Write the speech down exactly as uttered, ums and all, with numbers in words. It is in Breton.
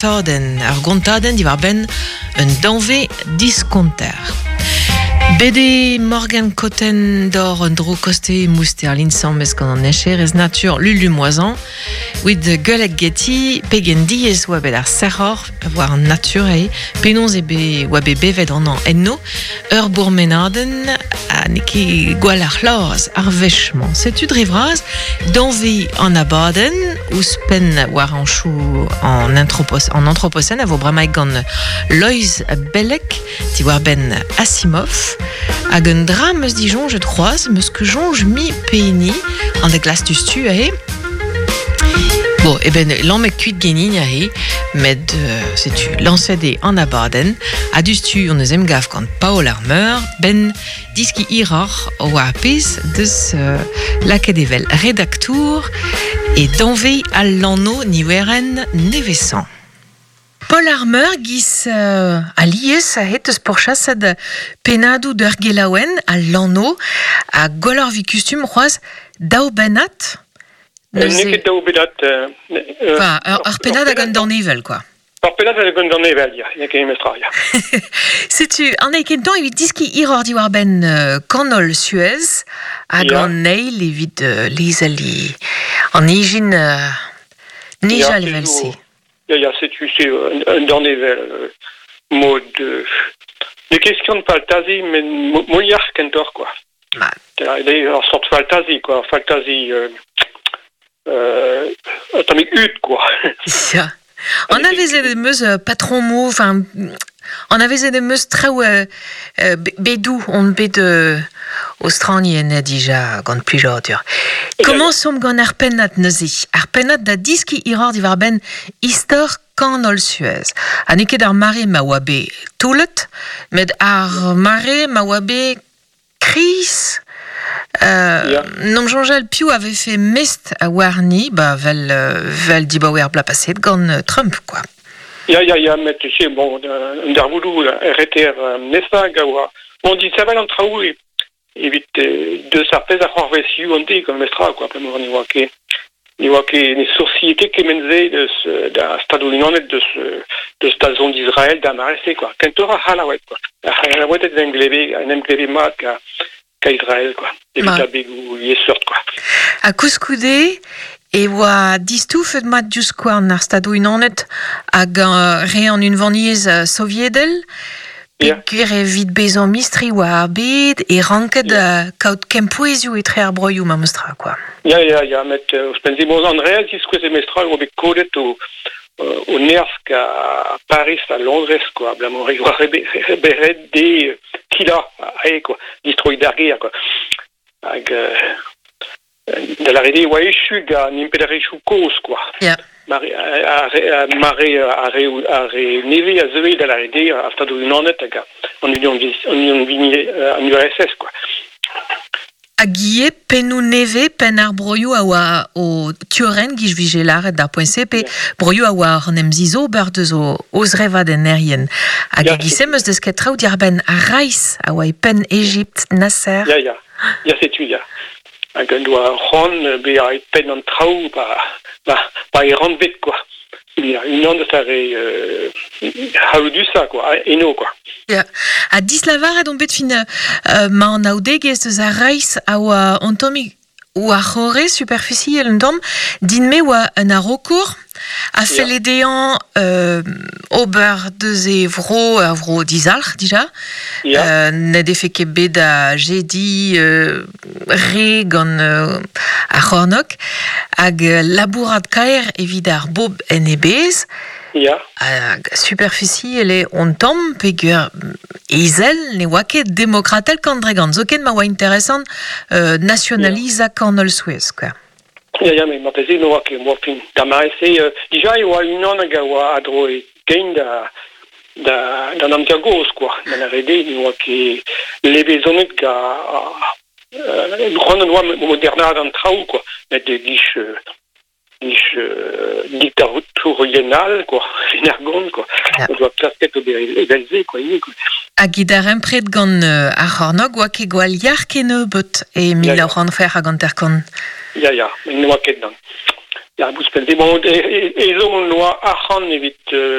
Gontadenn, ar gontadenn diwar-benn un danve diskonter. Bede Morgan Cotten d'or un dro koste mouster l'insammes gant an echerez natur Lulu Moisan, wit gueulek geti pegen diez oa bet ar serror war an natur e, penaos e be oa bet bevet an an enno, ur bourmenadenn a ne ket gwall ar c'hlaz ar wech-mañ. Setu dre vras danve an abadenn ouzhpenn war an chou an, anthropos, an anthropocène a vo bremaik gant Loeiz Bellec diwar benn Asimov hag un dra meus disoñjet c'hoazh meus ket soñj mi pehini an da glas dustu aze. Bon, e ben lammet kuit genin aze, met euh, setu lañset eo an abadenn, ha dustu on eus emgav gant Paol ar Meur, ben diski hiroc'h war pezh deus euh, lakaet evel redaktour e danve al lanno niweren nevesañ. Paol ar Meur giz euh, alies a het eus pourchasad pennadoù d'ur gelaouenn al lanno a gwelloc'h vi kustum c'hoazh daou bennad. N'eo ket daou bennad. Euh, Enfin, ur, ur pennad hag un danevell, quoi. Ur pennad hag un danevell, ya, ya ket mestra, ya. Setu, an eil kentañ evit diski hiroc'h diwar-benn euh, kanol Suez hag Ya. an eil evit euh, lezel i an ijin euh, nijal Ya, evel-se. Ya, ya, setu, c'est un, un danevell, euh, mod... Euh, ne question de fantasy, mais mo- moliac'h kentoc'h, quoi. Ma, Ur sort fantasy, quoi, fantasy... Euh, euh, tammig hud, quoi. ya. An avezet em eus euh, patron mo, enfin, an avezet em eus traoù euh, euh, be- bedou on bet euh, Australien dija gant plijadur. Komañsomp gant ar pennad neuze. Ar pennad da diski hiroc'h diwar-benn istor kanol Suez. Ha n'eo ket ar mare ma oa bet toullet, met ar mare ma oa bet kriz. Euh, Ya. N'om soñjal piv a vefe mest a warni, ba vel, euh, vel dibaoe ar bloaz paset gant euh, Trump, quoi. Ya, ya, ya, met tu sais, bon, un darvoudoù, R T R nesañ hag a oa. Bon, dit savel an traoù e, evit euh, deus ar pezh a c'hoarvezioù an de, gant mestra, quoi, p'emañ ne oa ket, ne oa ket ne sourcier ket kement-se deus, euh, da Stadoù Unanet deus, euh, deus da zont d'Israël da mare-se, quoi. Kentoc'h ar C'hallaoued, quoi. Ar C'hallaoued en em gleve, en em gleve mat ka, ka Israël, quoi. Evit Ma. abegoù liesseurt, quoi. Ha koulskoude e oa distoufet mat diouzh skouarn ar Stadoù Unanet hag euh, re an unvaniezh euh, soviedel, Ya. peogwir evit bezañ mistri war ar bed e ranket Ya. euh, kaout kempouezioù etre ar broioù ma meustra, quoi. Ya, ya, ya, met euh, ouzhpenn-se, bon, an real diskouez e mestra oa bet kodet o, euh, o nerzh ka Paris ha Londrez, quoi, abalamour e oa rebe- reberet de kila, ae, quoi, distroiñ d'ar gêr, quoi. Hag, euh, da lâret eo oa echu gant an impalaeriezhioù kozh, quoi. Ya. Mare, a, a, mare ar re, ar re nevez a zeue da lâret eo ar Stadoù Unanet hag an Union, an Union an U R S S, quoi. Hag ivez pennoù nevez, penn ar broioù a oa o turen giz vije lâret d'ar poent-se, pe Ya. broioù a oa an em zizober deus o, o zrevad en erien. Hag Ya. e giz-se meus desket traoù diwar-benn ar Reis a oa e penn Egipt, Nasser. Ya, ya. Ya, setu, ya. Hag un doa c'hoant bezañ e penn an traoù ba, ba, ba e rannved, quoi. Ya, unan deus ar re, euh, c'halloudusañ, quoi, eno, quoi. Ya. Ha dislavaret on bet fin euh, ma an aoudegezh deus ar Reis a oa an tammig oa c'horre superficiel un tamm, din-me oa un arokour a Ya. felle dezhañ euh, ober deus e vro, ur vro dizalc'h dija. Ya. Euh, ne defe ket bet da jediñ euh, re gant euh, ar c'hornok hag euh, labourat kaer evit ar bob en e bezh. Ya. Hag superficiel eo on tamm peogwir ezel ne oa ket demokratel kant dre gant. Zoken ma oa interesant euh, nationalizañ kanol Suez, quoi. Ya, ya, met marteze ne oa ket, moa fin. Da mare-se, euh, dija e oa unan hag a oa a-dro e kein da, da, d'an amzer gozh, quoi. Da lâret eo ne oa ket levezonet ga, euh, c'hoant an oa modernaat an traoù, quoi. Met e giz, euh, giz, euh, diktatourien all, quoi. Fin ar gont, quoi. Ya. O doa klasket ober evel-se, quoi, ivez, quoi. Hag e darempred gant euh, ar c'hornog oa ket gwall yar kennebeut e mil Ya, ya. nav c'hant c'hwec'h hag hanter-kant. Ya, ya, met ne oa ket nann. Ya, ouzhpenn. Bon, e, e, ezhomm hon doa arc'hant evit euh,